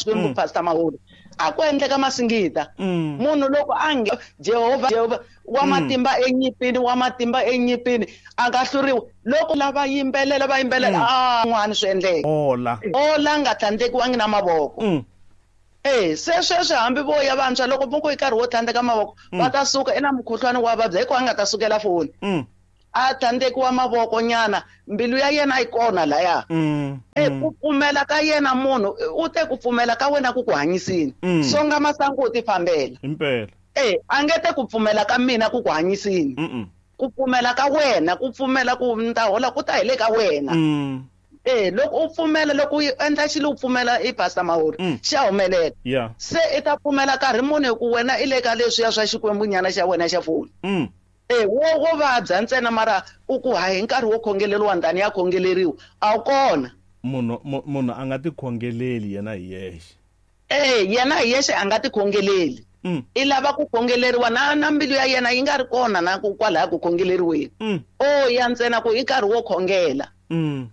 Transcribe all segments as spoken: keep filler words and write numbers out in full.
Xikwembu Mm. Pastor Mahuri a ku endleka masingita Mm. munhu loko a nge Jehovha Jehovha wa Mm. matimba enyipini wa matimba enyipini a nga hluriwi loko lava yimbelela va yimbelela Mm. a n'wana swi endleka Hola. ola nga tlhandlekiwangi na mavoko Mm. eh se sweswi hambi vo ya vantshwa loko mo ku i nkarhi wo tlhandleka mavoko Mm. va ta suka i na mukhuhlwani wa vabya hikuva a nga ta sukela foni Mm. a tlhandlekiwa mavoko nyana mbilu ya yena yi kona laya Mm. e Mm. ku pfumela ka yena munhu u te ku pfumela ka wena ku ku hanyisini Mm. songa masangu u ti fambela Impela. e a nge te ku pfumela ka mina ku ku hanyisini Mm. ku pfumela ka wena ku pfumela ku ni ta hola ku ta hi le ka wena Mm. e loko u pfumela loko u endla xilo u pfumela i Pastor Mahuri Mm. xa humelela Yeah. se i ta pfumela nkarhi muni hi ku wena i le ka leswiya swa xikwembu nyana xa wena xa foni Mm. e wo wo vabya ntsena mara u ku hayi hi nkarhi wo khongeleriwa ndani ya khongeleriwa a wu kona Munhu mu- munhu a nga tikhongeleli yena hi yexe. e yena hi yexe a nga tikhongeleli Mm. i lava ku khongeleriwa na na mbilu ya yena yi nga ri kona na ku kwalaya ku khongeleriweni Mm. o ya ntsena ku i nkarhi wo khongela Mm.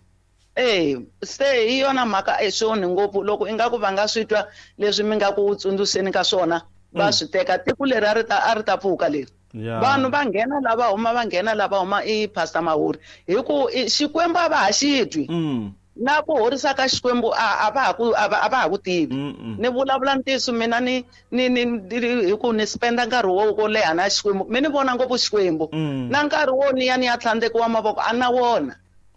e se hi yona mhaka e swi onhi ngopfu loko ingaku va nga swi twa leswi mi nga ku tsundzuxeni ka swona va Mm. swi teka tiko leri a ri ta a ri ta pfuka leri Yeah. vanhu va nghena lava huma va nghena lava huma i Pastor Mahuri hi ku i- Xikwembu a va ha xi twi Mm. na ku horisa ka Xikwembu a a va ha ku a va a va ha ku tivi Mm. mm. ni vulavula ntiyiso mina ni ni ni ni- hi ku ni spenda nkarhi wo wo leha na Xikwembu mi ni vona ngopfu Xikwembu Mm. na nkarhi wo ni ya ni ya tlhandlekiwa mavoko a na wona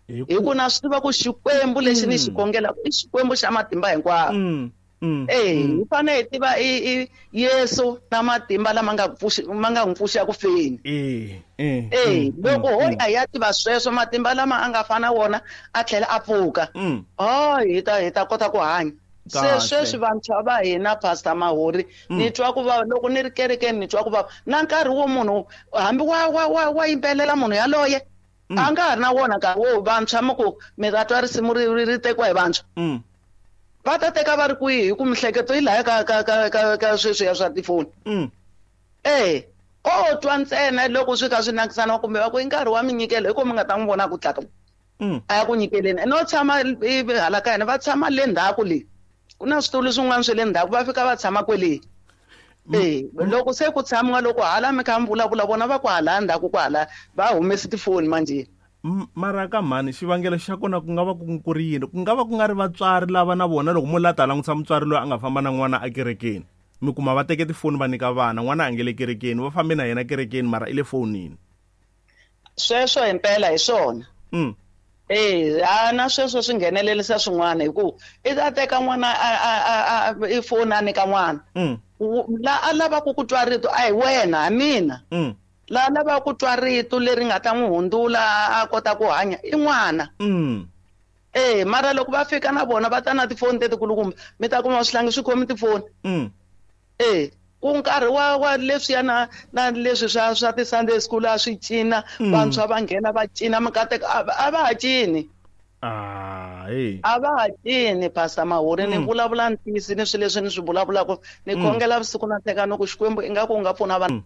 Hi hi ku na swi tiva ku Xikwembu lexi ni xi Mm. khongelaka i Xikwembu xa matimba hinkwawo Mm. Mm. Eh, Mm. hi fanele hi tiva i i Yesu na matimba lama nga pfuxi ma nga n'wi pfuxa ku feni Eh. Eh. eh Mm. loko ho Mm. ya hi ya tiva sweswo matimba lama a nga fana wona a tlhela a pfuka Mm. oh hi ta hi ta kota ku hanya se Kahle. sweswi vantshwa va hina Pastor Mahuri Mm. ni twa ku vava loko ni ri kerekeni ni twa ku vava na nkarhi wo munhu hambi wa wa wa wa yimbelela munhu yaloye Mm. a nga ha ri na wona nkarhi wo vantshwa mi ku mi ta twa risimu ri ri ri tekiwa hi vantshwa Mm. va ta teka va ri kwihi hi ku mihleketo yi laya ka ka ka ka ka sweswiya swa tifoni Mm. eh o twa ntsena loko swi kha swi nakisana kumbe va ku i nkarhi wa minyikelo hi ko mi nga ta n'wi vona ku tlaka Mm. a ya ku nyikeleni no tshama i hala ka hina va tshama le ndzhaku le ku na switulu swin'wana swa le ndzhaku va fika va tshama kwele eh loko se ku tshamiwa loko hala mi kha mi vulavula vona va ku hala ndzhaku ku hala va humesi tifoni manjhe M- mara ka mhani xivangelo xa kona ku nga va ku ku ri yini ku nga va ku nga ri vatswari lava na vona loko mo la ta langutisa mutswari loyi a nga famba na n'wana ekerekeni mi kuma va teke tifoni va nyika vana n'wana a nge le kerekeni va fambe na yena kerekeni mara i le fonini sweswo himpela hi swona mm. Eh, a na sweswo swi nghenelerisa swin'wana hi ku i ta teka n'wana a a a a i foni a nyika n'wana Mm. Wu- la a lavaka ku twa rito a hi wena ha mina Mm. la lavaka ku twa rito leri nga ta n'wi hundzula a kota ku hanya i n'wana Mm. eh mara loko va fika na vona va ta na tifoni tetikulukumba mi ta kuma swihlangi swi khomi tifoni Mm. eh ku nkarhi wa wa leswiya na na leswi swa swa ti-Sunday school a swi cina Mm. vantshwa va nghena va cina mikateko a a va ha cini Ah, hey. a va ha cini Pastor Mahuri ni Mm. vulavula ntiyiso ni swilo leswi ni swi vulavulaka ni Mm. khongela vusiku na nhlekani ku Xikwembu ingaku u nga pfuna vanhu Mm.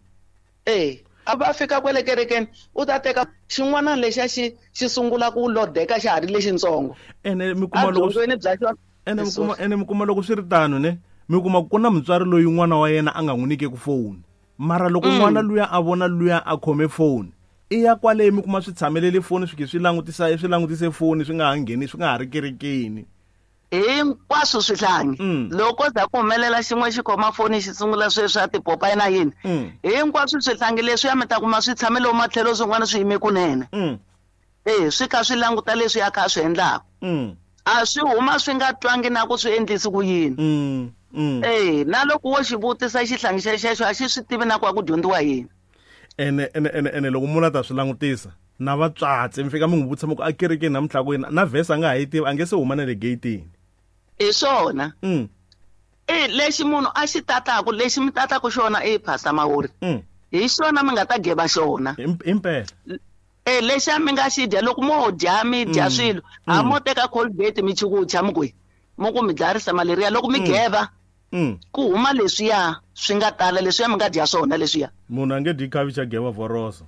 eh a va fika kwele kerekeni u ta teka xin'wana lexiya xi xi sungula ku lodeka xa ha ri lexintsongo ene mi kuma loko swi- edyondzweni bya xona ene mi kuma ene mi kuma loko swi ri tano ne mi kuma ku na mutswari loyi n'wana wa yena a nga n'wi nyikeki foni mara loko Mm. n'wana luya a vona luya a khome foni i ya kwale mi kuma swi tshamelele foni swi ke swi langutisa swi langutise foni swi nga ha ngheni swi nga ha ri kerekeni hinkwaswo swihlangi Mm. loko za ku humelela xin'we xi khoma foni xi sungula sweswi a tipopayi na yini Mm. hinkwaswo swihlangi leswiya mi ta kuma swi tshame lomu matlhelo swin'wana swi yime kunene Mm. eh swi kha swi languta leswi ya kha swi endlaka Mm. a swi huma swi nga twangi na ku swi endlisi ku yini Mm. Mm. eh na loko wo xi vutisa xihlangi xexexo a xi swi tivi na ku a ku dyondziwa yini ene ene ene ene loko munhu a ta swi langutisa na vatswatsi mi fika mi n'wi vutisa mi ku a kerekeni namuntlha ku yini na vhesi a nga ha yi tivi a nge se huma na le geyitini hi swona mm. eh lexi munhu a xi tataku lexi mi tataku xona i Pastor Mahuri Mm. hi xona mi nga ta geva xona Im- impela eh lexiya mi nga xi dya loko mo dya mi dya Mm. swilo a Mm. mo teka Colgate mi chukucha mi kwihi mo ku mi dlayarisa malaria loko mi Mm. geva Mm. ku huma leswiya swi nga tala leswiya mi nga dya swona leswiya munhu a nge dyi khavichi a geva vhoroso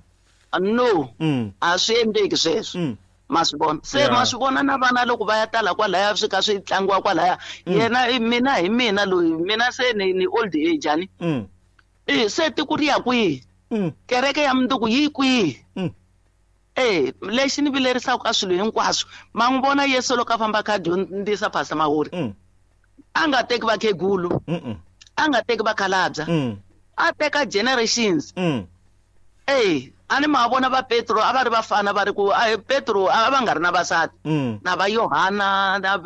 no mm. a swi endleki sweswo Mm. Ma swi vona se, Yeah. ma swi vona na vana loko va ya tala kwalaya, swi ka swi tlangiwa kwalaya. Yena i- mina hi mina loyi, mina se ni ni old age ani. Mm. E se tiko ri ya kwihi? Mm. Kereke ya mundzuku yi kwihi? Mm. E lexi ni vilerisaka ka swilo hinkwaswo, ma n'wi vona Yesu loko a famba a kha a dyondzisa, Pastor Mahuri, Mm. a nga teki vakhegulu, Mm. a nga teki vakhalabya, Mm. a teka generations. Mm. E a ni ma vona va Petro a va ri vafana, va ri ku a Petro a va nga ri na vasati, Mm. na va Yohana na